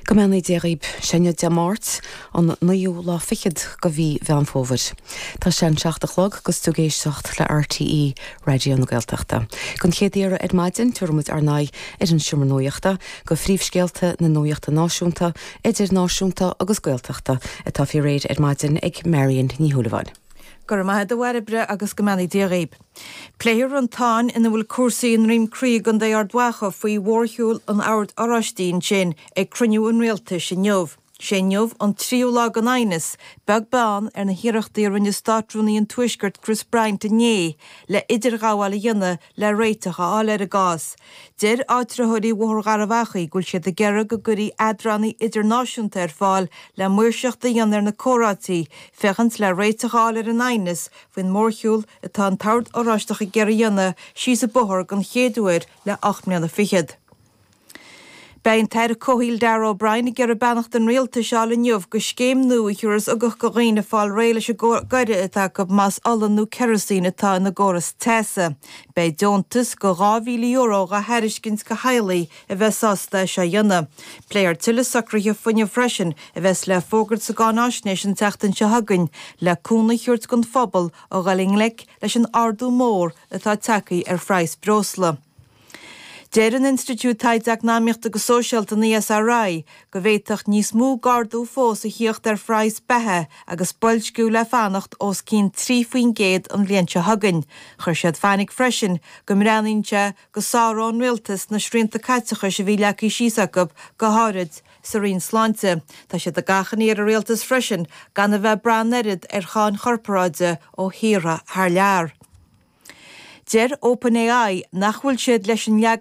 Go mbeannaí Dia dhaoib. Sé inniu Dé Máirt, an naoú lá fichead de mhí Mheán Fómhair. Tá sé an 7 a chlog agus tú ag éisteacht le RTÉ Raidió na Gaeltachta. Don chéad iarraidh ar maidin, tabharfaidh muid ár n-aghaidh ar an Seomra Nuachta, go phríomhscéalta na nuachta náisiúnta, idirnáisiúnta agus Gaeltachta atá faoi réir ar maidin ag Marion Ní Shúilleabháin. Go raibh maith agat a Bhairbre agus go mbeannaí Dia dhaoib. Pléifear an tsáinn ina bhfuil cúrsaí i nDroim Crí i gContae Ard Mhacha faoi mhórshiúl an Oird Oráistigh ansin ag cruinniú an Rialtais inniu. Sé inniu an tríú lá den aighneas, beag beann ar na hiarrachtaí a rinne Státrúnaí an Tuaiscirt Chris Bryant inné le idirghabháil a dhéanamh le réiteach a fháil ar an gcás. Deir áitritheoirí Bhóthar Gharbh Achaidh go bhfuil siad ag iarraidh go gcuirfí eadránaí idirnáisiúnta ar fáil le maoirseacht a dhéanamh ar na comhráití féachaint le réiteach a fháil ar an aighneas faoin mórshiúl atá an tOrd Oráisteach ag iarraidh a dhéanamh síos an bóthar den chéad uair le 8 mbliana fichead. Beidh an tAire Comhshaoil Darragh O'Brien ag iarraidh beannacht an Rialtais a fháil inniu go scéim nua a thiúrfas ugach go dhaoine fáil réidh leis an gcoire atá acu más ola nó kerosene atá ina gcóras teasa. Beidh deontas go €2,000 dhá thairiscint go theaghlaigh a bheas sásta é seo a dhéanamh. Pléifear tuilleadh socruithe fuinnimh freisin a bheas le fógairt sa gcáináisnéis an tseachtain seo chugainn le cúnamh a thabhairt don phobal a dhul i ngleic leis an ardú mór atá tagtha ar phraghas breosla. Deir an Institiúid Taighde Eacnamaíochta agus Sóisialta, an ESRI, go bhféadfadh níos mó d'ardú fós a thíocht ar phraghas beatha agus boilsciú le fanacht os cionn 3% an bhliain seo chugainn. Chuir siad fainic freisin go mbreathnaíonn sé go sáródh an rialtas na srianta caiteachais a bhí leagtha síos acu, go háirid sa Roinn Sláinte. Tá siad ag achainí ar an rialtas freisin gan a bheith ag brath an oiread ar cháin chorparáide ó thíortha thar lear. Deir OpenAI nach bhfuil siad leis an leagan.